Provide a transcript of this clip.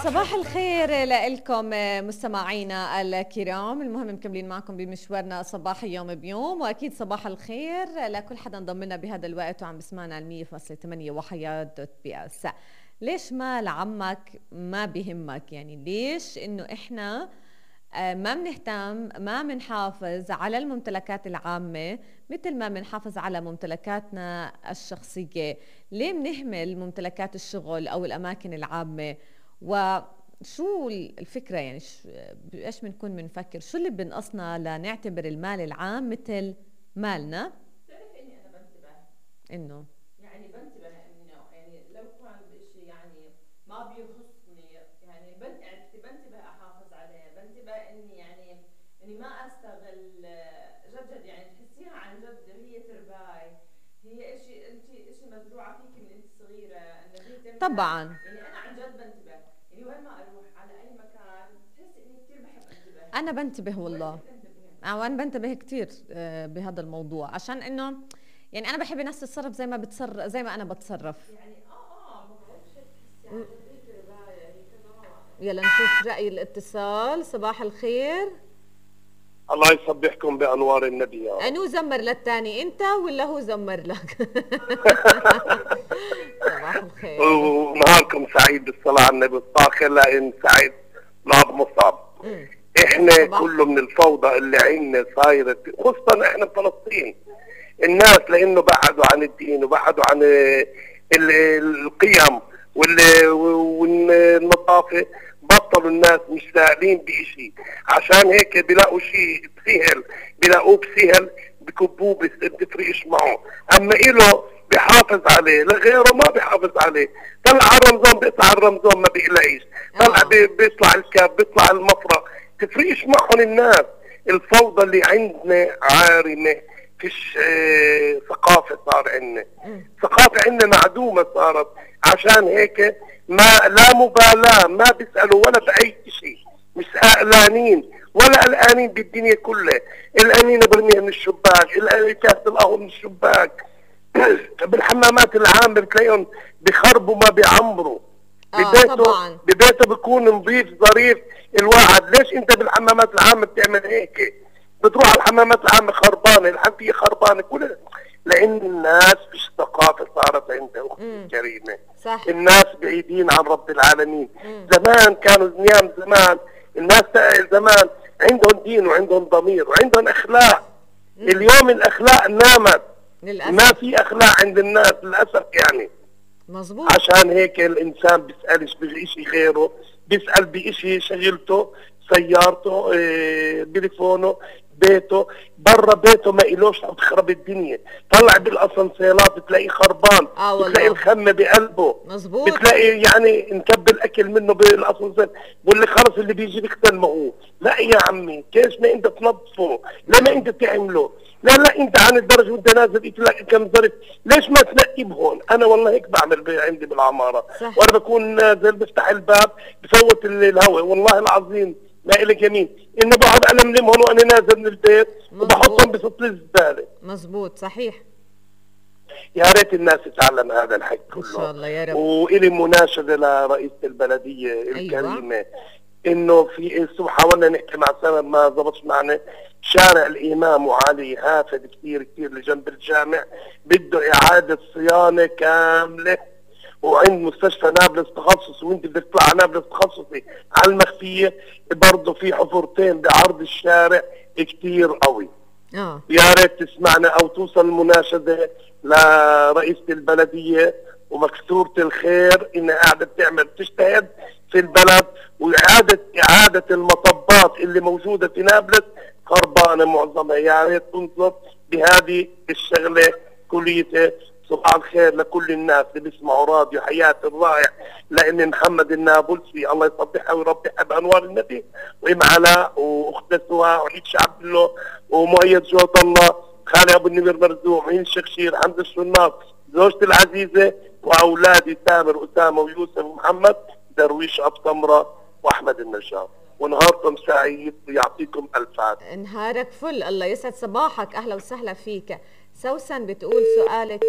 صباح الخير لكم مستمعينا الكرام. المهم مكملين معكم بمشوارنا صباح يوم بيوم، واكيد صباح الخير لكل حدا انضم لنا بهذا الوقت وعم بسمعنا على 100.8 وحياة دوت بي اس. ليش مال عمك ما بيهمك؟ يعني ليش انه احنا ما بنهتم، ما بنحافظ على الممتلكات العامة مثل ما بنحافظ على ممتلكاتنا الشخصية؟ ليه بنهمل ممتلكات الشغل أو الأماكن العامة؟ وشو الفكرة؟ يعني ايش بنكون بنفكر؟ شو اللي بنقصنا لنعتبر المال العام مثل مالنا؟ بتعرف اني انا بنتبه انه يعني بنتبه انه يعني لو كان بشيء يعني ما بيخصني يعني بنتبه احافظ عليه، بنتبه اني يعني اني ما استغل جد يعني تحسيها عن جد هي ترباي، هي اشي انت اشي مزروعه فيك من انت صغيره انه هي تمنع. طبعا يعني انا عن جد بنتبه، يعني وين ما اروح على اي مكان بتحس اني كثير بحب انتبه. انا بنتبه والله، وانا بنتبه كتير بهذا الموضوع، عشان انه يعني انا بحب الناس تتصرف زي ما بتصرف، زي ما انا بتصرف. يعني ما بعرفش تحسي عن جد هي تربايه هي تمام. يلا نشوف رأي الاتصال. صباح الخير. الله يصبحكم بانوار النبي يا رب. انو زمر للتاني، انت ولا هو زمر لك؟ صباح الخير ونهاركم سعيد بالصلاة على النبي الطاخر لان سعيد ناب مصاب. احنا كله من الفوضى اللي عندنا صايرة، خصوصا احنا بفلسطين. الناس لانه بعدوا عن الدين وبعدوا عن القيم والنظافة، بطلوا الناس مش سائلين بإشي، عشان هيك بيلاقوا شيء سهل بيلاقوه بسهل بكبوه بتفرقش معه. اما إله بيحافظ عليه، لغيره ما بيحافظ عليه. طلع على رمضان بيطلع على رمضان ما بيقلقش، طلع بيطلع الكاب بيطلع المفرق، تفرقش معهم الناس. الفوضى اللي عندنا عارمة، فيش ثقافة صار عندنا، ثقافة عندنا معدومة صارت. عشان هيك ما لا مبالاة، ما بيسألوا ولا بأي شيء، مش قلقانين ولا قلقانين بالدنيا كلها. القنينة برميها من الشباك، كاسة القهوة من الشباك. بالحمامات العامة بتلاقيهم بخربوا ما بيعمروا. ببيته بيكون نظيف ظريف الواحد. ليش انت بالحمامات العامة بتعمل هيك؟ بتروح على الحمامات العامة خربانة، الحنفية خربانة، كلها لأن الناس فيش ثقافة صارت عندها أختي الكريمة. صح. الناس بعيدين عن رب العالمين. زمان كانوا نيام زمان الناس زمان عندهم دين وعندهم ضمير وعندهم أخلاق. اليوم الأخلاق نامت للأسف. ما في أخلاق عند الناس للأسف يعني. مظبوط. عشان هيك الإنسان بيسألش بشيء غيره، بيسأل بشيء شغلته، سيارته، تليفونه، بيته. برا بيته ما إلوش عم تخرب الدنيا. طلع بالاسانسيرات بتلاقيه خربان، بتلاقي الخمه بقلبه. مظبوط. بتلاقي يعني نكب الاكل منه بالاسانسير، بقول لك خلص اللي بيجي بيختل معه. لا يا عمي، كيف ما انت تنظفه؟ لما انت تعمله؟ لا انت عن الدرج وانت نازل بتلاقي كم ظرف، ليش ما تنقي بهون؟ انا والله هيك بعمل عندي بالعماره. صح. وانا بكون نازل بفتح الباب بفوت الهواء، والله العظيم ما إلك يمين انه بقعد ألملم هون وانا نازل من البيت وبحطهم بفصل الزباله. مظبوط صحيح. يا ريت الناس تتعلم هذا الحكي كله ان شاء الله يا رب. وإلي مناشده لرئيسة البلديه الكريمه. أيوة. انه في حاولنا نحكي مع سبب ما ضبطش معنا. شارع الامام وعلي هافد كثير لجنب الجامع بده اعاده صيانه كامله، وعند مستشفى نابلس تخصصي، وانت بدك تطلع على نابلس تخصصي على المخفيه برضه في حفرتين بعرض الشارع كثير قوي. يا ريت تسمعنا او توصل المناشده لرئيسة البلديه ومكسوره الخير انها قاعده تجتهد في البلد، واعاده المطبات اللي موجوده في نابلس خربانه معظمها. يا ريت تنظر بهذه الشغله كليتها. صباح الخير لكل الناس اللي بيسمعوا راديو حياة الرائع، لأن محمد النابلسي الله يصبحها ويربحها بأنوار النبي، وإم علاء وأخت سواء وعيد شعب الله ومؤيد جوة الله، خالي أبو النمير مرزوق، معين الشخشير، حمد الشناط، زوجتي العزيزة، وأولادي تامر أسامة ويوسف ومحمد، درويش أبو سمرة وأحمد النجار. ونهاركم سعيد ويعطيكم ألف عافية. نهارك فل، الله يسعد صباحك، أهلا وسهلا فيك. سوسن بتقول سؤالك